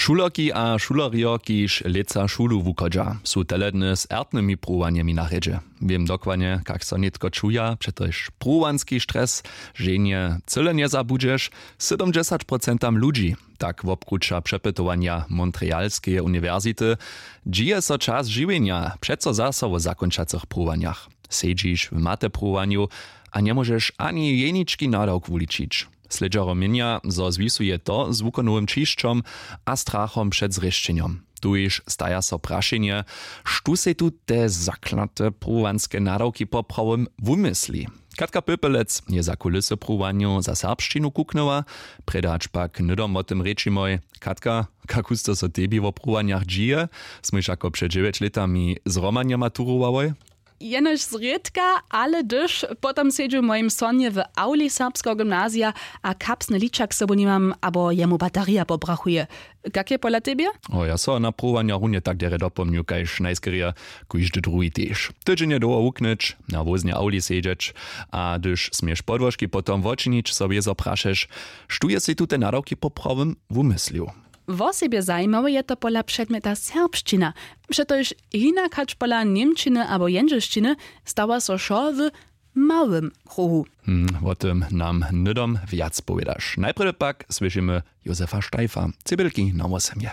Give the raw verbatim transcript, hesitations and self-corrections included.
Šulerki a šulerjo, kiž lětsa šulu wuchodźa, su teledny z ertnymi pruwanjemi na rjedźe. Wěm dokładnje, kak so nětko čuja, přetož pruwanski stres ženje cyle njezabudźeš. Sydomdźesać procentam ludźi, tak wobkruća přepytowanja Montrealskeje uniwersity, dźije so čas žiwjenja přeco zaso wo zakónčacych pruwanjach. Sedźiš w matepruwanju a njemóžeš ani jenički nadawk wuličić. Slědźerjo měnja, zo zwisuje to z wukonowym ćišćom a strachom před zrěšćenjom. Tuž staja so prašenje, štó sej tu te zaklate pruwanske nadawki poprawom wumysli? Katka Pöpelec je za kulisy pruwanjow za serbšćinu kuknyła. Prědać pak hnydom wo tym rěčimoj. Katka, kak husto so tebi wo pruwanjach dźije? Smój wšako před dźewjeć lětami z romanja maturowałoj. Jenož zrědka, ale hdyž potom sedźu w mojim sonje w awli serbskeho gymnazija a kapsny ličak sobu nimam abo jemu baterija pobrachuje. Kak je pola tebje? O ja so na pruwanjach runje tak derje dopomnju kaž najskerje kóždy druhi tež. Tydźenje dołho wuknyć, na wóznje awli sedźeć, a hdyž směš podłožki potom wočinić, so wězo prašeš, štó je sej tute nadawki poprawom wumyslił? Wosebje zajimawe je to pola předmjeta serbšćina, přetož hinak hač pola němčiny abo jendźelšćiny stawa so wšo w małym kruhu. Hm, wo tym nam hnydom wjac powědaš. Najprjedy pak słyšimy józefa steifa, cybelki na wósemje.